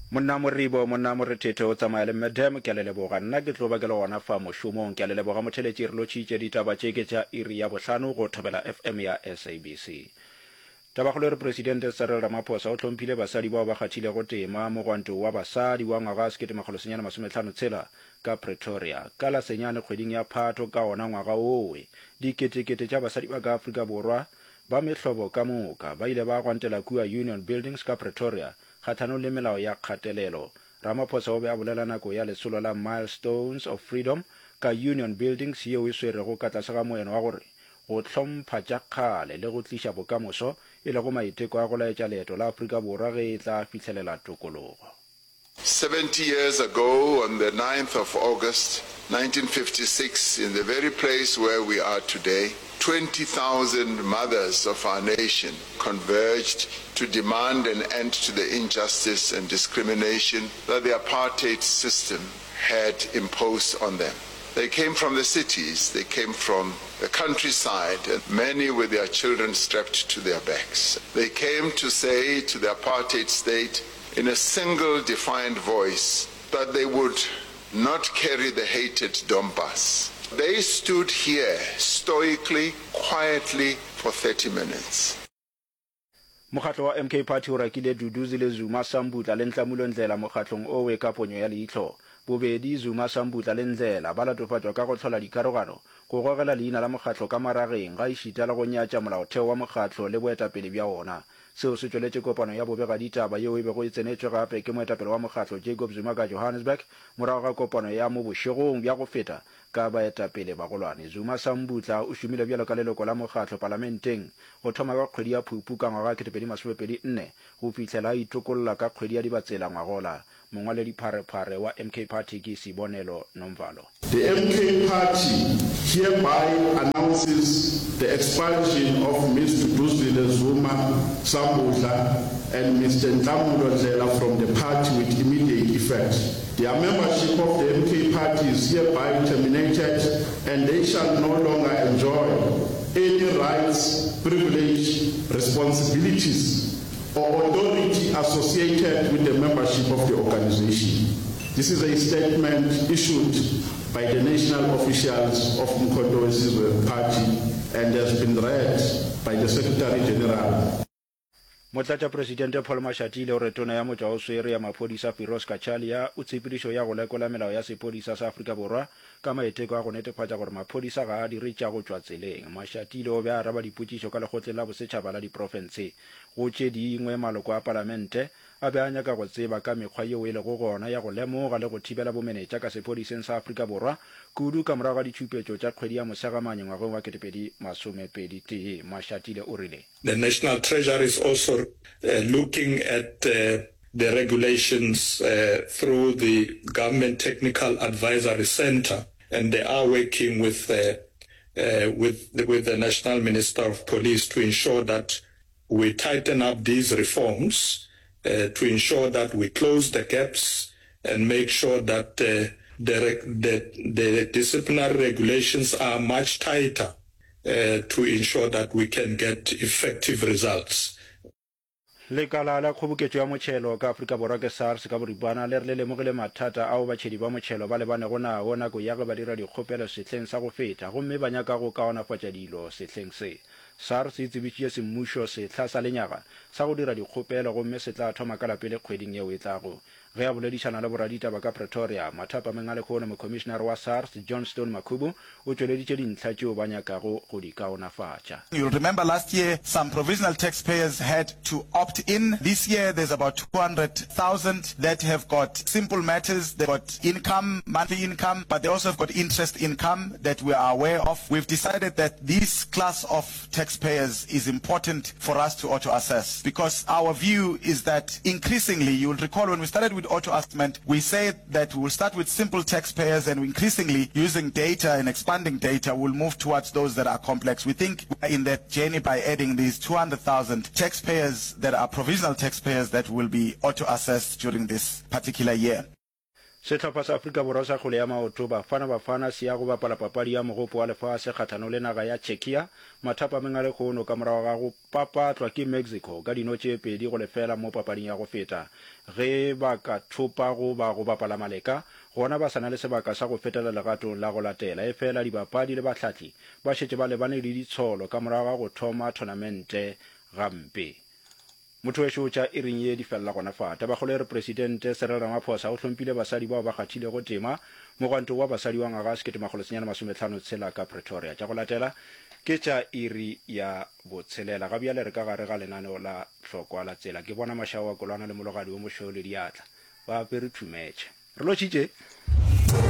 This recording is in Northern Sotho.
Monna Moribo, Monna Morethetho o tsamaya le Mme Dam, ke a le leboga. Nna ke tlo ba ke le gona fa mošomong. Ke a le leboga motheletši, re lotšhitše ditaba tše ke tša iri ya bohlano go Thobela FM ya SABC. Tabakgolo e re Presidente Cyril Ramaphosa o hlomphile basadi bao ba kgathilego tema mogwanto wa basadi wa ngwaga 1956 ka Pretoria. Ka la senyane kgweding ya Phato ka ona ngwaga owe, diketekete tša basadi ba ka Afrika Borwa ba mehlobo ka moka ba ile ba gwantela kua Union Buildings ka Pretoria kgahlanong le melao ya kgatelelo. Ramaphosa o be a bolela nako ya lesolo la Milestones of Freedom ka Union Buildings yeo e swerego ka tlase ga moeno wa gore Go hlompha tša kgale le go tliša bokamoso, e lego maiteko a go laetša leeto la Afrika Borwa ge e tla fihlelela tokologo. 70 years ago on the 9th of August 1956 in the very place where we are today, 20,000 mothers of our nation converged to demand an end to the injustice and discrimination that the apartheid system had imposed on them. They came from the cities, they came from the countryside, and many with their children strapped to their backs. They came to say to the apartheid state in a single defiant voice that they would not carry the hated Dompas. They stood here stoically, quietly for 30 minutes. Mokgatlo wa MK Party o rakile Duduzile Zuma, Sambudla le Nhlamulo Ndhlela mokgatlong owe ka ponyo ya leihlo. Bobedi Zuma, Sambudla le Ndhlela ba latofatšwa ka go hlola dikarogano, go gogela leina la mokgatlo ka marageng, gaešita le go nyatša molaotheo wa mokgatlo le boetapele bja wona. Seo se tšweletše kopano ya bobegaditaba yeo e bego e tsenetšwe gape ke moetapele wa mokgatlo Jacob Zuma ka Johannesburg morago ga kopano ya mo bošegong bja go feta ka baetapele bagolwane. Zuma Sambudla o šomile bjalo ka leloko la mokgatlo palamenteng go thoma ka kgwedi ya Phupu ka ngwaga 2024 go fihlela a itokolla ka kgwedi ya Dibatsela ngwagola. Mongwaledipharephare wa MK Party ke Sibonelo Nomvalo. The MK Party hereby announces the expulsion of Ms Duduzile Zuma Sambudla and Mister Nhlamulo Ndhlela from the party with immediate effect. Their membership of the MK Party is hereby terminated and they shall no longer enjoy any rights, privilege, responsibilities or authority associated with the membership of the organization. This is a statement issued by the national officials of Umkhonto weSizwe Party and has been read by the Secretary General. Motlatšapresidente Paul Mashatile o re Tona ya Motšwaoswere ya Maphodisa Firoz Cachalia o tshepedišo ya go lekola melao ya sephodisa sa Afrika Borwa ka maiteko a go netefatša gore maphodisa ga a dire tša go tšwa tseleng. Mashatile o be a araba dipotšišo ka Lekgotleng la Bosetšhaba la Diprofense. Go tše dingwe, maloko a palamente a be a nyaka go tseba ka mekgwa yeo e lego gona ya go lemoga le go thibela bomenetša ka sephodiseng sa Afrika Borwa, kudu ka morago ga ditšhupetšo tša kgwedi ya Mosegamanye ngwageng wa 2021. Mashatile o rile. The National Treasury is also looking at the regulations through the Government Technical Advisory Centre and they are working with with with the National Minister of Police to ensure that we tighten up these reforms to ensure that we close the gaps and make sure that the the the disciplinary regulations are much tighter to ensure that we can get effective results. Lekala la kgoboketšo ya motšhelo ka Afrika Borwa ke SARS ka boripana le re le lemogile mathata ao batšhedi ba motšhelo ba lebanego nao nako ya ge ba dira dikgopelo sehleng sa go feta gomme ba nyaka go kaonafatša dilo sehleng se. SARS e tsebišitše semmušo sehla sa lenyaga sa go dira dikgopelo gomme se tla thoma ka la pele kgweding yeo e tlago. Ge a boledišana le boraditaba ka Pretoria, mathapameng a lehono, Mokhomišenare wa SARS, Johnstone Makhubu, o tšweleditše dintlha tšeo ba nyakago go di kaonafatša. You'll remember last year some provisional taxpayers had to opt in. This year there's about 200,000 that have got simple matters, they've got income, monthly income, but they also have got interest income that we are aware of. We've decided that this class of taxpayers is important for us to auto-assess because our view is that increasingly, you will recall when we started with auto-assessment, we said that we will start with simple taxpayers and increasingly using data and expanding data we'll move towards those that are complex. We think we are in that journey by adding these 200,000 taxpayers that are provisional taxpayers that will be auto-assessed during this particular year. Sehlopha sa Afrika Borwa sa kgwele ya maoto, Bafana Bafana, se ya go bapala papadi ya Mogopo wa Lefase kgahlanong le naga ya Czechia mathapameng a lehono ka morago ga go papatlwa ke Mexico ka dino tše 2-0 mo papading ya go feta. Ge ba ka thopa goba go bapala maleka, gona ba sa na le sebaka sa go fetela legatong la go latela. Efela dibapadi le bahlahli ba šetše ba lebane le ditsholo ka morago ga go thoma thonamente gampe. Motho wešo tša iring ye di felela gona fa. Tabakgolo e re Presidente Cyril Ramaphosa o hlomphile basadi bao ba kgathilego tema mogwantong wa basadi wa ngwaga 1956 ka Pretoria. Tša go latela ke tša iri ya botshelela. Ga bjale re ka gare ga lenaneo la hlokwa la tsela. Ke bona Mašaoa Kolwana le Mologadi wo mošweu le diatla ba apere thumetšhe. Re lotšhitše.